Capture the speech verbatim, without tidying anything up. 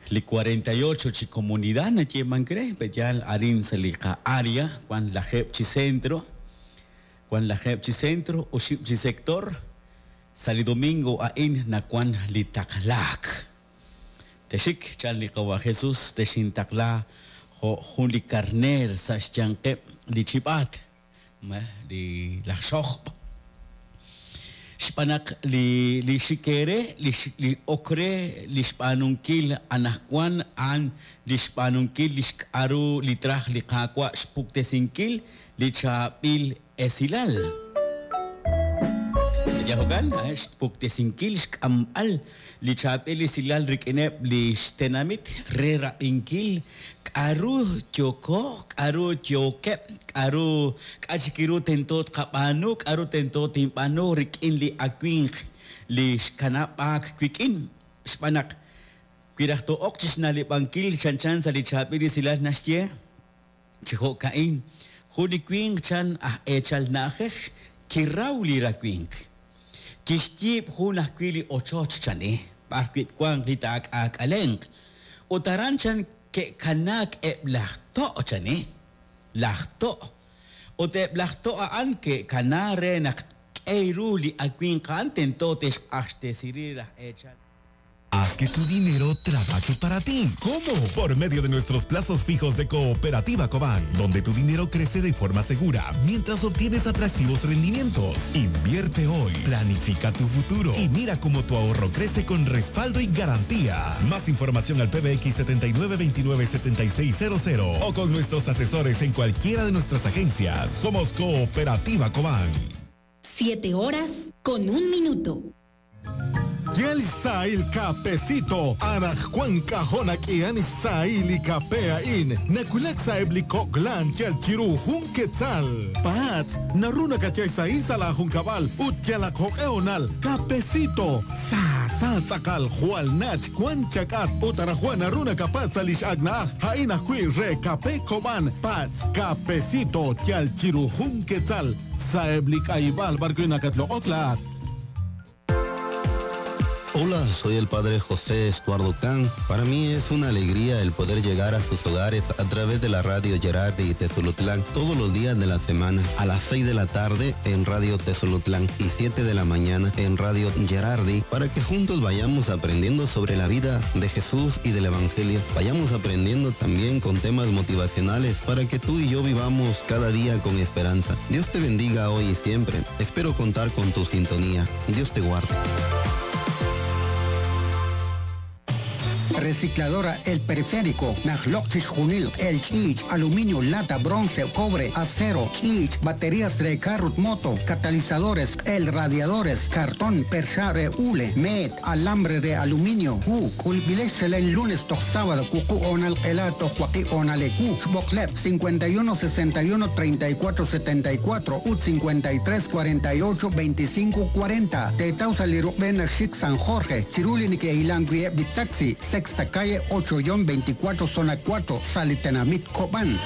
Li cuarenta y ocho chi comunidad nayeemank re, pe'yaal arin sa' li qa-área, wan lajeeb' chi centro, wan lajeeb' chi centro, oxib' chi sector, sa' li domingo a'in nawan li taqlaak. Texik, chan li Qawa' Jesus, texintaqla jo' jun li karneer sa' xyanqeb' li chib'aat, ma, li laj xojb'. Xb'aan naq li, li xik eere, li x-, li ok re li xb'aanunkil anaqwan a'an li xb'aanunkil li xk'aru li traj li Qaawa' xpuktesinkil li chaab'il esilal. Yajokan, xpuktesinkil xk'amb'al li chaab'il esilal rik'ineb' li xtenamit re rab'inkil k'aru yoko, k'aru yokeb', k'aru k'a' chik ru tento tqab'aanu, k'aru tento tinb'aanu rik'in li awinq li xkanab'aak wik'in. Xb'aan naq wi raj to'oq chi xna'leb'ankil chanchan sa' li chaab'il esilal naxye, chi jo'ka'in, jun li winq chan aj eechal na'ajej kiraw li rawinq. Kixyiib' jun ajwi' li ochoch chan, eh, b'ar wi' twanq li taak'aak'alenq. Ut aran chan ke'kanaak eb' laj to' chan, eh, laj to'. Ut eb' laj to' a'an ke'kana re naq k'ey ru li awinq a'an tento te'xq'axtesi laj eechal. Haz que tu dinero trabaje para ti. ¿Cómo? Por medio de nuestros plazos fijos de Cooperativa Cobán, donde tu dinero crece de forma segura mientras obtienes atractivos rendimientos. Invierte hoy, planifica tu futuro y mira cómo tu ahorro crece con respaldo y garantía. Más información al P B X setenta y nueve veintinueve setenta y seis cero cero o con nuestros asesores en cualquiera de nuestras agencias. Somos Cooperativa Cobán. Siete horas con un minuto. Yel Sail Cafecito, Araj Juan Cajona Kian Sail y Cafea In, Nakulak Saebli Koklan Yel Chiru Jun Quetzal, Pats, Naruna Kachay Sail Sala Jun Cabal, Utiala Jokeonal, Cafecito, Sa Sa Tzakal, Jual Nach, Juan Chacat, Utara Juan Aruna Capaz Salish Agnaj, Haina Hui Re Cape Coban, Pats, Cafecito, Yel Chiru Jun Quetzal, Saebli Kaibal, Barco Inakatlo Okla. Hola, soy el padre José Estuardo Can. Para mí es una alegría el poder llegar a sus hogares a través de la radio Gerardi y Tezulutlán todos los días de la semana a las seis de la tarde en Radio Tezulutlán y siete de la mañana en Radio Gerardi para que juntos vayamos aprendiendo sobre la vida de Jesús y del Evangelio. Vayamos aprendiendo también con temas motivacionales para que tú y yo vivamos cada día con esperanza. Dios te bendiga hoy y siempre. Espero contar con tu sintonía. Dios te guarde. Recicladora El Periférico, Najloch Junil, El Chich, aluminio, lata, bronce, cobre, acero, Chich, baterías de carro, moto, catalizadores, el radiadores, cartón, perchare, hule, met, alambre de aluminio, U, culbilés el lunes, to sábado, cucu, onal, elato, joaquí, onalecu, Boclep, cincuenta y uno, sesenta y uno, treinta y cuatro, setenta y cuatro, U, cincuenta y tres, cuarenta y ocho, veinticinco, cuarenta, Tetausa, Lirubena, Chic, San Jorge, Ciruli, Nike, Ilanguie, Bitaxi, Sexta calle ocho guion veinticuatro, zona cuatro, Salitenamit, Cobán.